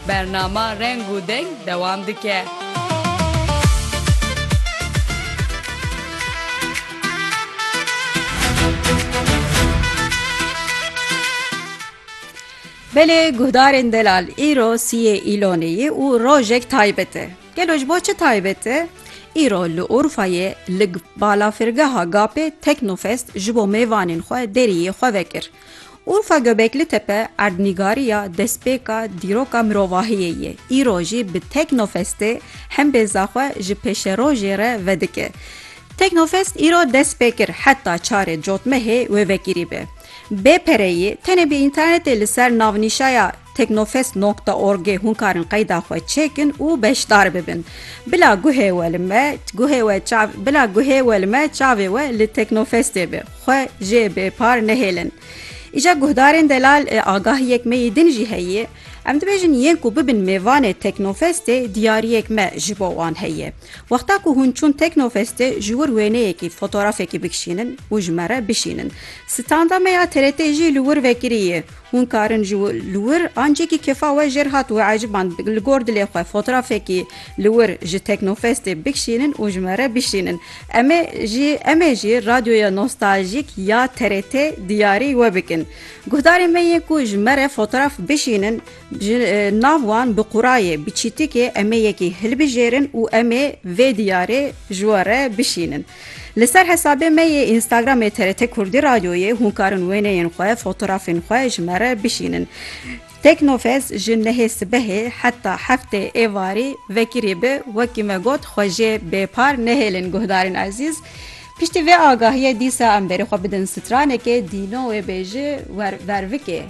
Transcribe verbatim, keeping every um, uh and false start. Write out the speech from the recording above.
Bernama Reng û Deng dewam dike. Belê guhdarên delal, îro siyê Îlonê ye û rojek taybet e. Gelo ji bo çi taybet e? Îro li Urfayê li balafirgeha Gapê Teknofest ji bo mêvanên xwe deriyê xwe vekir. Urfa Göbekli Tepe erdnîgariya destpêka dîroka mirovahiyê ye. Îro jî bi Teknofestê hembêza xwe ji pêşerojê re vedike. Teknofest îro dest pê kir, heta çarê cotmehê wê vekirî be. Bê pereyî, tenê bi înternetê li ser navnîşaya teknofest nokta orgê hûn karin qeyda xwe çêkin û beşdar bibin. Bila guhê we li me, guhê we çav, bila guhê we li me çavê we li Teknofestê be. Xwe jê bêpar nehêlin. Îca guhdarên delal, e, agahiyek me yê din jî heye. Em dibêjin yên ku bibin mêvanê Teknofestê diyariyek me ji bo wan heye. Wexta ku hûn çûn Teknofestê ji wir wêneyekî, fotografekî bikişînin û ji me re bişînin. Standa me ya T R T jî li wir vekirî ye. Hûn karin ji wi-, li wir ancîkî kefa we jêr hat û eciban li gor dilê xwe fotografekî li wir ji Teknofestê bikişînin û ji me re bişînin. Em ê jî, em ê jî radyoya nostaljîk ya T R T diyarî we bikin. Guhdarên me yên ku ji me re fotograf bişînin, ji, e, nav wan bi qurayê, bi çîtikê em ê yekî hilbijêrin û em ê vê diyarê ji we re bişînin. Li ser hesabê me yê Instagramê T R T Kurdî Radyoyê hûn karin wêneyên xwe, fotografên xwe ji me re bişînin. Teknofest ji nehê sibehê heta heftê êvarî vekirî bi, wekî me got, xwe jê bêpar nehêlin guhdarên ezîz. Piştî vê agahiyê dîsa em berê xwe bidin stranekê Dîno wê bêje wer-, vervikê.